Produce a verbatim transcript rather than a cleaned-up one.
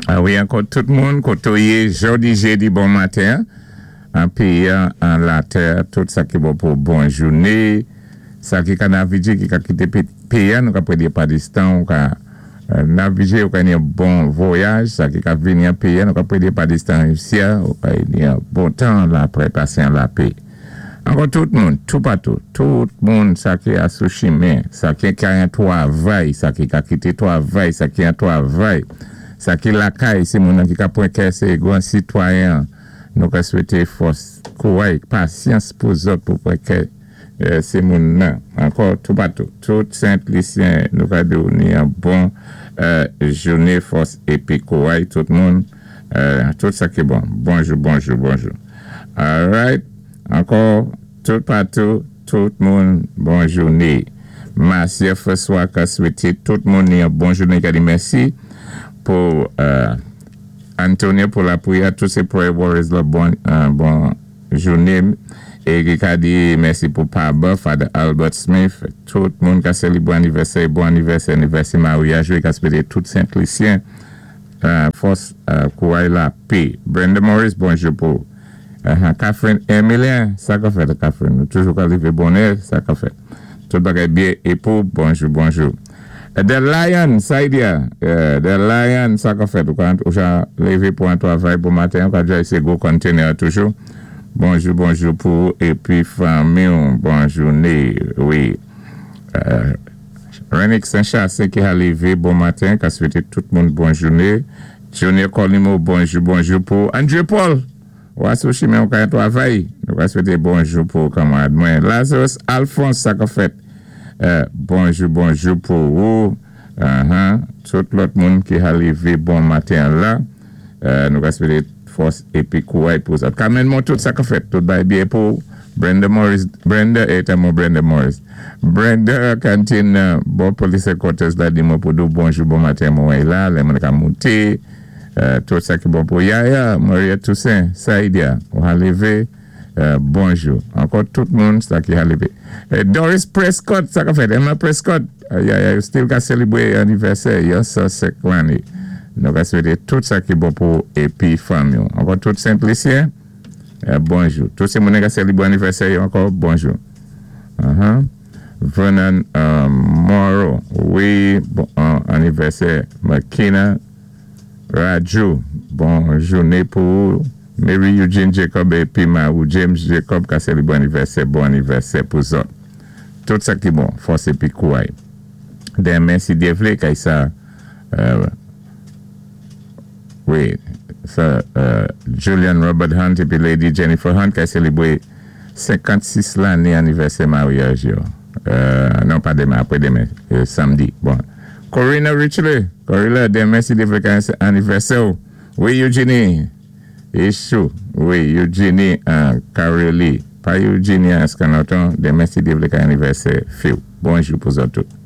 Ah wi, ankò tout moun, koté ou yé, jòdi, jédi, bon maten. An péyi, an latè, tout sa ki bon pou bon jouné. Sa ki ka navigé, ki ka kité péyi, nou ka prédé pa distan, ou ka navigé, ou ka ni yon bon vwayaj. Sa ki ka vini an péyi, nou ka prédé pa distan isi, ou ka ni yon bon tan la apwé pasé an lapè. Ankò tout moun, tout patou, tout moun sa ki a sou chimen, sa ki ka yon twavay, sa ki ka kité twavay, sa ki yon twavay, sa ki lakay, sé moun ki ka pwan kè sé gwan sitwayen, nou ka swété fòs, kouway, pasyans pou zòt pou pwan kè sé moun nan. Ankò, tout patou, tout Sent-Lisyen, nou ka di ou ni yon bon jouné, fòs épi kouway, tout moun, tout sa ki bon. Bonjou, bonjou, bonjou. Alright. Ankò, tout patou, tout moun, bon jouné. Masye François ka swété tout moun ni yon bon jouné, ka di mèsi pou Antonio pou lapwiyè, tout sé prayer warriors la bon bon jouné. É ki ka di mèsi pou Paba, Father Albert Smith, tout moun ka sélibwé anivèsè, bon anivèsè, anivèsè maryaj, ka swété tout Sent-Lisyen, fòs kouway lapè. Brenda Morris, bonjou pou. Catherine Emilien, sa ka fèt Catherine, nou toujou ka lévé bonè, sa ka fèt. Tout bagay byen é pou, bonjou, bonjou. The Lion, Saidia, The Lion, sa ka fèt, ou ja lévé pou an twavay pou maten, ou ka dja sé gwo container toujou. Bonjou, bonjou pou, épi fanmi, bon jouné, wi. Renix Saint-Chassé ki a lévé bon maten, ka swété tout moun bon jouné. Junior Colimo, bonjou, bonjou pou. André Paul, ou a sou chimen ou ka yon twavay, nou ka swété bonjou pou kanmarad mwen. Lazarus Alphonse, sa ka fèt. Bonjou, bonjou pou ou. Tout lòt moun ki a lévé bon maten la. Nou ka swété fòs épi kouway pou sa. Carmen Montout, sa ka fèt. Tout bay byen pou Brenda Morris. Brenda, éta mwen Brenda Morris. Brenda Cantine, bon police headquarters la di mwen pou dou bonjou, bon maten mwen la. Lè mwen ka mouté. Tout sa ki bon pou Yaya, Maria Toussaint, Saidia, ou a lévé, bonjou. Ankò tout moun sa ki a lévé. Doris Prescott, sa ka fèt, Emma Prescott, Yaya, yo still ka sélibwé anivèsè, yo sa sèk lanné. Nou ka swété tout sa ki bon pou épi fanmi. Ankò tout Sent-Lisyen, bonjou. Tout sé moun ka sélibwé anivèsè, ankò bonjou. Vernon Morrow, wi, bon anivèsè, Makina Raju, bon jouné pou Mary Eugene Jacob épi ou James Jacob ka sélibwé anivèsè, bon anivèsè pou zòt. Tout sa ki bon, fòs épi kouway. Denmen, si Dye vlé, kay sa, wi, sa, Julian Robert Hunt épi Lady Jennifer Hunt ka sélibwé senkannsis lanné anivèsè maryaj yo. Non, pa denmen, apwé denmen, samdi. Bon. Corina Richley, Corina, denmen si Dye vlé kay anivèsè. Wi, Eugenie. Issou, wi, Eugenie Carelli. Pa Eugenie Escanoton, denmen si Dye vlé kay anivèsè. Fiw. Bonjou pou zòt tout.